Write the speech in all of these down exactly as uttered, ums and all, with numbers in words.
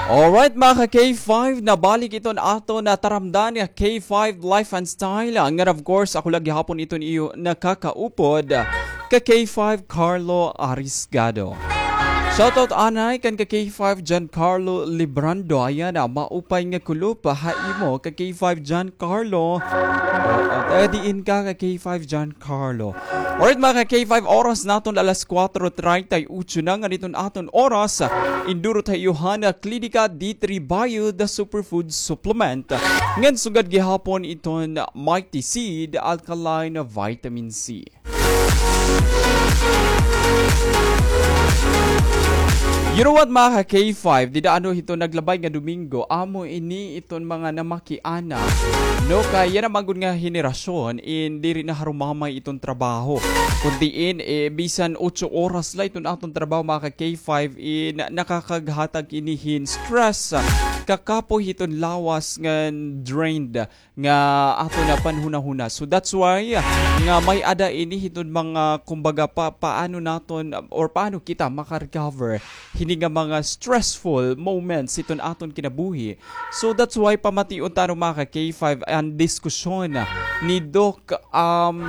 Alright, mga ka K five, nabalik iton aton taramdan nga K five Life and Style. Ngan of course, ako la gihapon iton iyo nakakaupod, ka K five Carlo Arisgado. Shoutout anay kan ka K five Giancarlo Librando. Ayan na, maupay nga kulop ha imo, ka K five Giancarlo. Oo, taga diin ka, ka K five Giancarlo? Carlo. Alright, mga ka K five, oras naton alas kuwatro treinta y ocho na ngan iton aton oras. Indurot ha iyo han Klinika D three Bio, the superfood supplement. Ngan sugad gihapon iton Mighty Seed Alkaline Vitamin C. You know what, mga ka K five, dida ano hiton naglabay nga Domingo, amo ini iton mga namaki ana. No, kay yana man gud nga henerasyon in diri na harumamay iton trabaho. Kun diin, eh, bisan otso oras la iton aton trabaho, mga ka K five, in nakakaghatag ini hin stress, kakapoy hiton lawas ngan drained nga aton panhunahuna. So that's why nga may-ada ini hiton mga, kumbaga, pa, paano naton or paano kita maka-recover hini nga mga stressful moments hiton aton kinabuhi. So that's why pamation ta, ano, mga ka K five, an diskusyon ni Doc, um,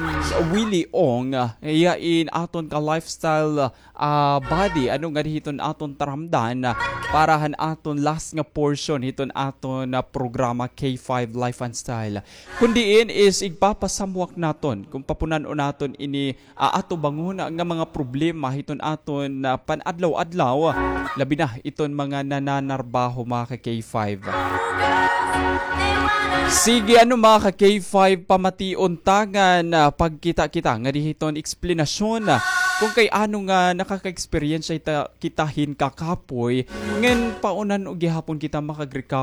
Willie Ong, iya in aton ka lifestyle, ah, buddy, ano, ngadi hiton aton taramdan, ah, para han aton last nga portion hiton aton, ah, programa K five Life and Style. Kun diin is igpapasamwak naton kun papunan-on naton ini, ah, atubangon nga mga problema hiton aton, ah, pan-adlaw-adlaw, labi na iton mga nananarbaho, mga ka K five. Sige, ano, mga ka K five, pamation ta ngan, ah, pagkita-kita ngadi hiton eksplanasyon, ah, kun kay ano nga nakaka-eksperyensya hita, kita hin kakapoy, ngan paano gihapon kita makag-recover